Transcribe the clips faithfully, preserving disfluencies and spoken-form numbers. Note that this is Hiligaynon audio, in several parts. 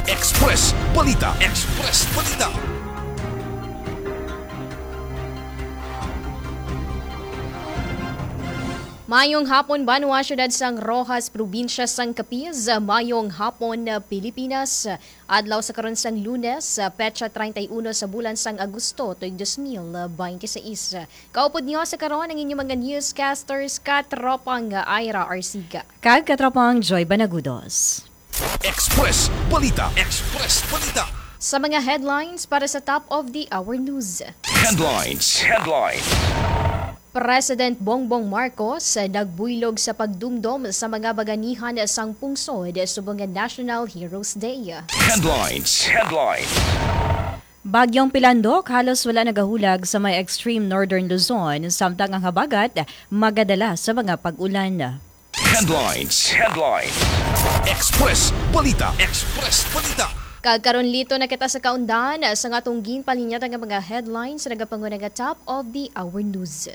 Express Balita. Express Balita. Mayong hapon, banwa, siyudad sang Roxas, probinsya sang Capiz. Mayong hapon, Pilipinas. Adlaw sa karon sang Lunes, petsa treinta y uno sa bulan sang Agosto, tuig dos mil veintiséis. Kaupod niyo sa karon ang inyong mga newscasters, katropang Ira Arsiga. Kag katropang Joy Banagudos. Express Balita. Express Balita. Sa mga headlines para sa top of the hour news. Headlines. Headlines. President Bongbong Marcos nagbuylog sa pagdumdom sa mga baganihan sang pungsod subong nga National Heroes Day. Headlines. Headlines. Bagyong Pilandok halos wala nagahulag sa may extreme northern Luzon, samtang ang habagat magadala sa mga pag-ulan. Headlines. Headlines. Express Balita. Express Balita. Kag karon, liton na kita sa kaundan sa nga atong ginpalinyatan nga mga headlines sa nagapanguna nga top of the hour news.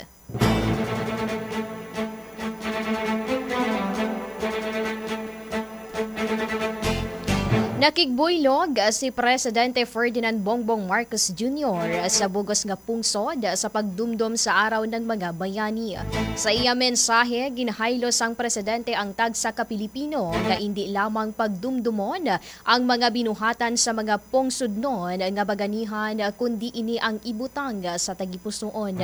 Nakigbuylog si Presidente Ferdinand Bongbong Marcos Junior sa bugos nga pungsod sa pagdumdom sa Araw ng mga Bayani. Sa iya mensahe, ginhaylo sang presidente ang tagsa ka Pilipino nga indi lamang pagdumdomon ang mga binuhatan sa mga pungsodnon nga baganihan, kundi ini ang ibutang sa tagipusoon.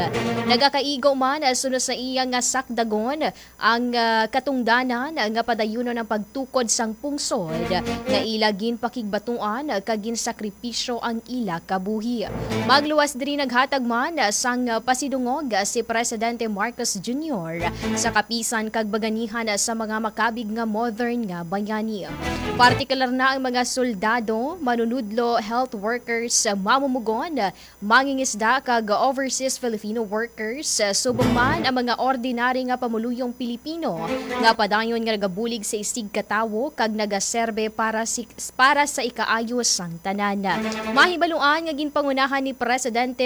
Nagakaigo man, suno sa iya nga sakdagon, ang, ah, katungdanan nga padayunon ang pagtukod sang pungsod nga ila ginpakigbatuan kag ginsakripisyo ang ila kabuhi. Magluwas diri, naghatag man sang pasidungog si Presidente Marcos Junior sa kapisan kag baganihan sa mga makabig nga modern nga bayani. Partikular na ang mga soldado, manunudlo, health workers, mamumugon, mangingisda kag overseas Filipino workers, subong man ang mga ordinary nga pamuluyong Pilipino nga padayon nga nagabulig sa isigkatawo kag nagaserbe para si, para sa ikaayo sang tanan. Mahibaluan nga ginpangunahan ni Presidente